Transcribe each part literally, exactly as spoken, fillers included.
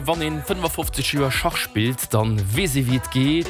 Wann een fënnefafofzeg Joer Schach spillt, dann weess ee wéi et geet.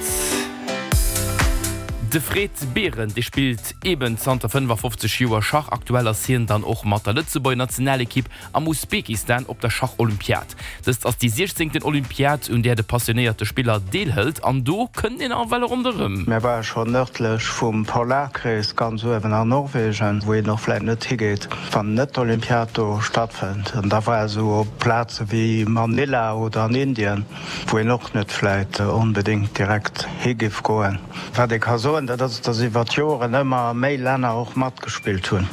De Fred Berend, dee spillt eben zanter fënnefafofzeg Joer Schach. Aktuell ass hien dann och mat der Lëtzebuerger Nationalekipp am Usbekistan op der Schacholympiad. Dëst ass déi siechzéngten Olympiad, un där de passionéierte Spiller deelhëlt an do kënnt een ewell ronderëm. Mir ware schonn nërdlech vum Polarkrees, ganz uewen an Norwegen, wou een och vläit net higeet, wann net d'Olympiad do stattfënnt. An da war esou op Plaze wéi Manila oder an Indien, wou een och net vläit onbedéngt direkt hi giff goen. Wat ee ka soen, dat ass, datt iwwer d'Joren ëmmer méi Länner och matgespillt hunn.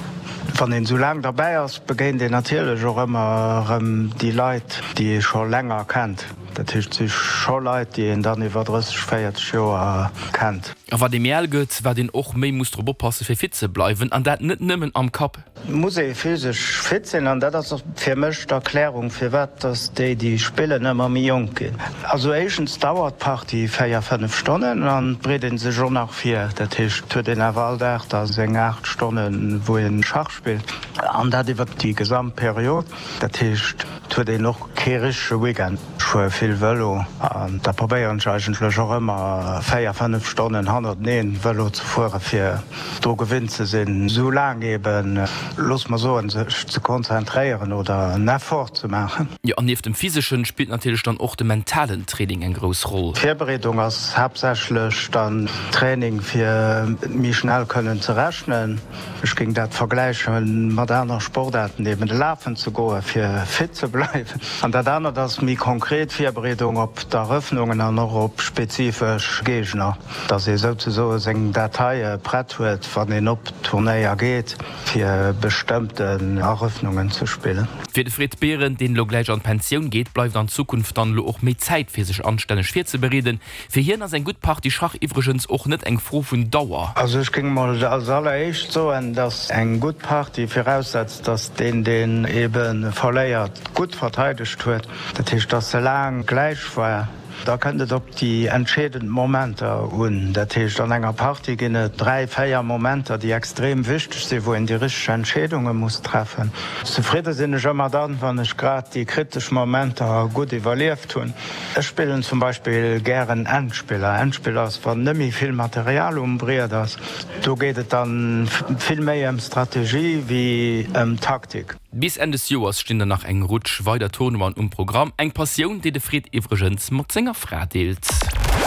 Wann een esou laang derbäi ass, begéint een natierlech och ëmmer erëm déi Leit, déi ee scho länger kennt. Dat heescht, et si scho Leit, déi een dann iwwer drësseg, véierzeg Joer kennt. A wat ee méi al gëtt, wat een och méi muss drop oppasse fir fit ze bleiwen, an dat net nëmmen am Kapp. Muss ee physesch fit sinn, an dat ass och fir mech d'Erklärung, firwat dass déi, déi spillen, ëmmer méi jonk ginn. Also éischtens dauert d'Partie véier, fënnef Stonnen an et bereet ee sech och nach vir. Dat heescht, et huet een awer all Dag da seng aacht Stonnen, wou ee Schach spillt, an dat iwwer déi gesamt Period. Dat heescht, et huet een och kee richtege Weekend. Ech fuere vill Vëlo an da probéieren ech eigentlech och ëmmer véier, fënnef Stonnen hannerteneen Vëlo ze fuere fir dru gewinnt ze sinn, esou laang eben, looss mer soen, sech ze konzentréieren oder en Effort ze maachen. Jo, an nieft dem physeschen spillt natierlech dann och de mentalen Training eng grouss Roll. D'Virbereedung ass haaptsächlech dann Training fir méi schnell kënnen ze rechnen. Ech géing dat vergläiche mat aner Sportaarten, eben lafen ze goen, fir fit ze bleiwen. An dat anert ass méi konkret Virbereedung op d'Erëffnungen an och op spezifesch Géigner, dass ee souzesoe seng Dateie prett huet, wann een op Turnéier geet, fir bestëmmten Erëffnungen ze spillen. Fir de Fred Berend, deen elo gläich an d'Pensioun geet, bleift an Zukunft dann elo och méi Zäit fir sech anstänneg virzebereeden. Fir hien ass eng gutt Partie Schach iwwregens och net eng Fro vun Dauer. Also ech géing mol als alleréischt soen, dass eng gutt Partie viraussetzt, dass deen, deen ebe verléiert, gutt verteidegt huet. Dat heescht, dass se laang gläich war. Da kënnt et op déi entscheedend Momenter un. Dat heescht, an enger Partie ginn et dräi, véier Momenter, déi extrem wichteg sinn, wou een déi richteg Entscheedunge muss treffen. Zefridde sinn ech ëmmer dann, wann ech grad déi kritesch Momenter gutt iwwerlieft hunn. Ech spillen zum Beispill gären Endspiller. Endspiller ass, wann net méi vill Material um Briet ass. Do geet et dann vill méi ëm Strategie wéi ëm Taktik. Bis Enn des Joers stinn der nach eng Rutsch weider Tournoien um Programm. Eng Passioun, déi de Fred iwwregens mat senger Fra deelt.